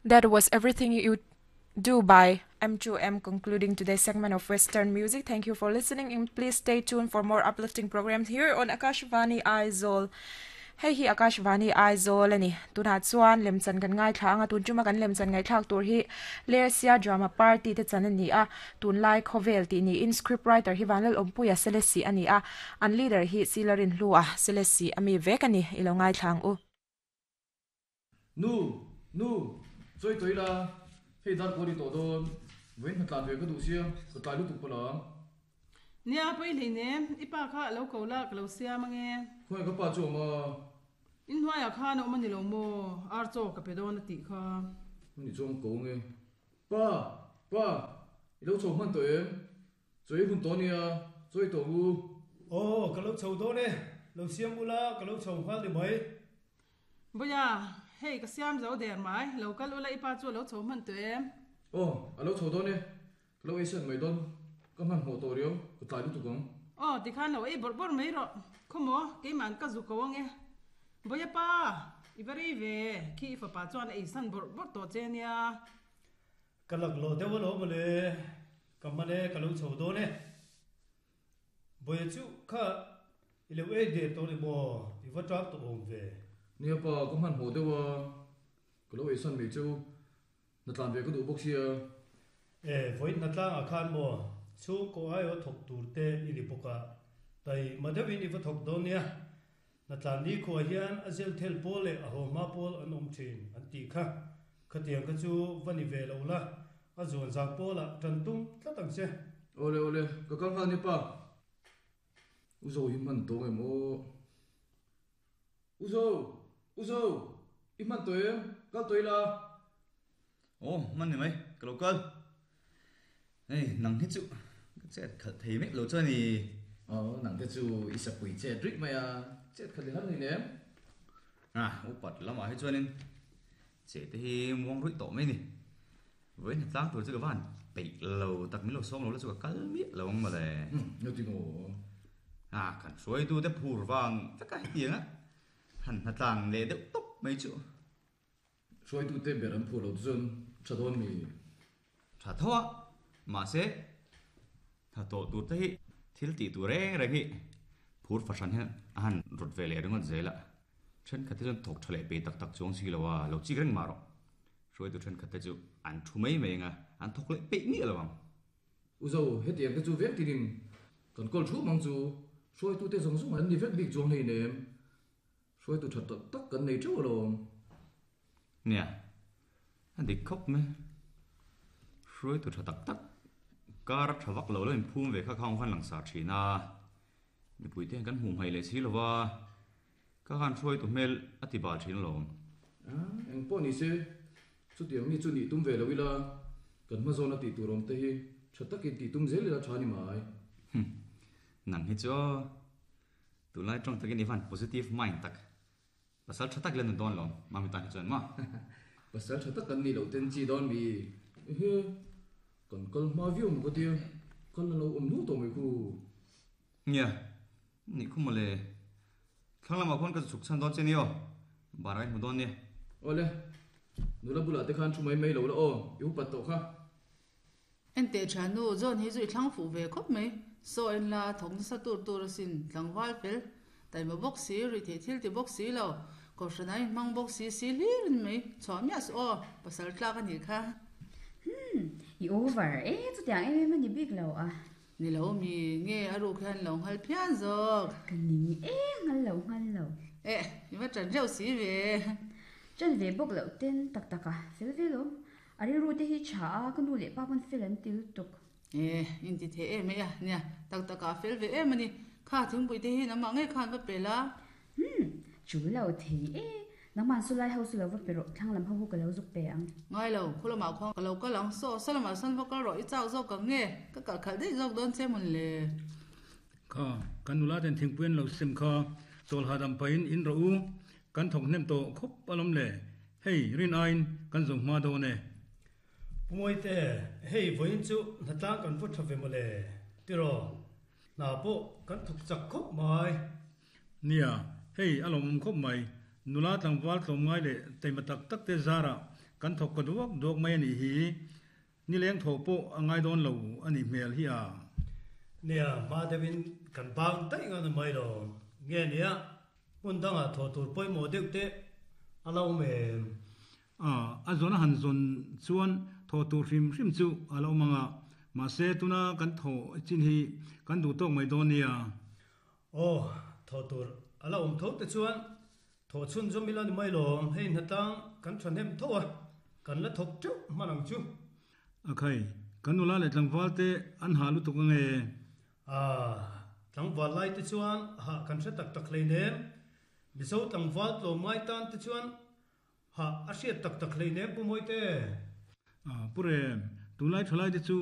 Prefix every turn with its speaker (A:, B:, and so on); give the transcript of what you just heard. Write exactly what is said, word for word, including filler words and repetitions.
A: That was Everything You Do by M two M, concluding today's segment of Western music. Thank you for listening, and please stay tuned for more uplifting programs here on Akashvani Aizawl. Hei hi Akashvani Aizawl ani. Tunah chuan lemchan kan ngaithla anga tun chuma kan lemchan ngaithlak tur hi Lersia Drama Party te chan ani a. Tunlai khawvel tih niin script writer hi Vanlal Awmpuia Selesih ani a. An leader hi Silarin Hlua Selesih ami vek ani. Ilo ngaithla ang u.
B: Nu, nu, chawi tawih la, hei dar kual i tawh dawn, vawiin hna tlan ve ka duh sia, ka tlai lutuk pawh ang.
C: Nia, pawi hlei nem, i pa kha a lo ko la, ka lo siam ange.
B: Khawngaih ka pa chu awm a.
C: In hnuaiah khan a awm a ni lo maw, ar chaw ka pe dawn a tih kha.
B: Hmun i chuang ko nge. Pa, pa, i lo chho hman tawh em? Chawi hun tawh nia, chawi tawh u.
D: Aw, ka lo chho dawn e, lo siam ula, ka lo chho nghal ni mai.
C: Vawiha, hei ka siam zo der mai, lo kal ula i pa chu a lo chho hman tawh em?
B: Aw, a lo chho dawn e, ka lo ei set mai dawn, ka hmanhmawh tawh riau, ka tlai lutuk ang.
C: Aw, tikhan lo ei bawrh bawrh mai rawh, khawmaw, keimah ka zu ko ang e. Vawiha pa, i va rei ve, khi i fapa chuan a ei san bawrh bawrh tawh che nia.
D: Ka laklawh deuh alawm mawle, ka hman e, ka lo chho dawn e. Vawiha chu kha i lo ei der tawh ni maw, i va tang tawh awm ve.
B: Nia pa, ka hmanhmawh deuh a, ka lo ei san mai chu, hna tlan ve ka duh bawk sia.
D: E, vawiin hna tlangah khan maw, chhungkaw aiaw thawk tur te i ni bawk a, tai ma deuhin i va thawk dawn nia. Hna tlan ni khuah hian a zel thel pawl leh a haw hma pawl an awm thin an tih kha. Khatiang kha chu va ni ve lo la, a zuan zak pawlah tan tum tlat ang che.
B: Awle awle, ka kal nghal ni pa. U Zo hi hman tawng em aw? U Zo! U Zo! I hman tawh em? Kal tawh ila.
E: Aw, hman ni mai, ka lo kal. Hei, nang hi chu ka chet khalh thei mek lo chuan i.
B: Aw, nang te chu i sapui chet rih mai a, chet khalh i har ni nem.
E: Ah, upat lamah hi chuanin che te hi muang ruih tawh mai ni. Vawiin hna tlang tur chu ka van peih lo tak, min lo sawm lo la chu ka kal miah lo ang mawle.
B: Umm, nga ti maw?
E: Ah, kan hruaitu te phur vang vek a hetiang a, han hna tlang leh deuh tawp mai chu.
B: Hruaitu te ber an phur lo te chuan tha dawn mi?
E: Tha tho a, mahse tha tawh tur te hi thil tih tur reng reng hi phur fahran hian a han rawt ve leh ringawt zel a, thenkhat te chuan thawk tha leh pe tak tak chuang si lo a, lo chik reng mah rawh. Hruaitu thenkhat te chu an thu mai mai ang a, an thawk leh peih miah lo ang.
B: U Zo, hetiang te chu vek tinin kan kawl thu mang chu hruaitu te zawng zawng an ni vek bik chuang hlein em? Hruaitu tha tak tak kan nei teuh alawm.
E: Nia, a dik khawp mai. Hruaitu tha tak tak kar tha vak lo lo inphum ve kha khang khan langsar thin a, mipui te hian kan hmuh hmaih leh si lo va, ka khan hruaitu hmel a ti bal thin alawm.
B: Eng pawh ni se, chutiang mi chu nih tum ve lo ila, kan hma zawna tih tur awm te hi tha takin tih tum zel ila tha ni mai.
E: Nang hi chu tunlai tawng takin i van positive mind tak. Pasal tha tak ila nun dawn lo, mami tan hi chuan maw?
B: Pasal tha tak kan nih loh ten chi dawn mi? Ehe, kan kal hma viau maw ka tia, kal na lo awm hnu tawh mai khu.
E: Nia, nih khu mawle. Thlang lamah khuan ka chhuk chhan dawn che ni aw, bar ah i hmu dawn nia.
B: Awle, nula bulah te khan thu mai mai lo la aw, i upat tawh kha.
F: Enteh tha nu, John hi chu i thlang fuh ve khawp mai. Saw en la, thawk nasa tur tur asin, tlangval fel, taima bawk si, rih theih thil ti bawk si lo, kohhran ah inhmang bawk si si hlir in mai, chhuah miah suh aw, pasal tlak a nih kha.
G: Humm, i over e, chutiang em em a ni bik lo a.
F: Ni lo mi, nge a ruk hian lo nghal phian zawk.
G: Ka ning e, nghal lo nghal lo.
F: Eh, i va ṭan reuh si ve.
G: Ṭan ve bawk loh ten tak tak a, fel ve lo. A rilru te hi tha a, ka nu leh pa pawn fel an ti lutuk.
F: Eh, in ti thei em mai a, nia, tak tak ah fel ve em a ni. Kha thingpui te hi nangmah ngei khan va pe la.
G: Humm, chu lo thei e. Nangmah chu lai ho chu lo va pe rawh, thlang lam ho hu ka lo zuk pe ang.
F: Ngai lo, khu lamah khuan ka lo kal ang, saw saw lamah sawn va kal rawh, i chak zawk ang nge, ka kalh khalh daih zawk dawn che mawn le.
H: Kha, kan nula ten thingpui an lo sem kha, chawl hahdam pahin in rawh u, kan thawk hnem tawh khawp alawm le. Hei, rin aiin kan zo hma dawn e.
D: Pu Mawite, hei vawiin chu hnatlang kan vaw tha ve mawle, tiraw? Hna pawh kan thawk chak khawp mai.
H: Nia, hei a lawmawm khawp mai. Nula tlangval tlawmngai leh taima tak tak te zarah Kan thawk ka duak duak mai ani hi. Ni leng tho pawh a ngai dawn lo ani hmel hi a.
D: Nia, ma deuhin kan bang daih nga ni mai lo. Nge nia, hmun dangah thaw tur pawimawh deuh te a lo awm em?
H: A, a zawn a han zawn chuan thaw tur hrim hrim chu a lo awm ang a, mahse tuna kan thaw chin hi kan duh tawk mai dawn nia.
D: Aw, thaw tur a la awm tho te chuan thaw chhun zawm ila ni mai lawm, hei hnatlang kan thahnem tho a, kan la thawk teuh hman ang chu.
H: A khai, kan nula leh tlangval te an hah lutuk ange.
D: A, tlangval lai te chuan hah kan hre tak tak hleinem, Mizo tlangval tlawm ngai tan te chuan hah a hriat tak tak hleinem Pu Mawite.
H: A, Pu Rem, tunlai thalai te chu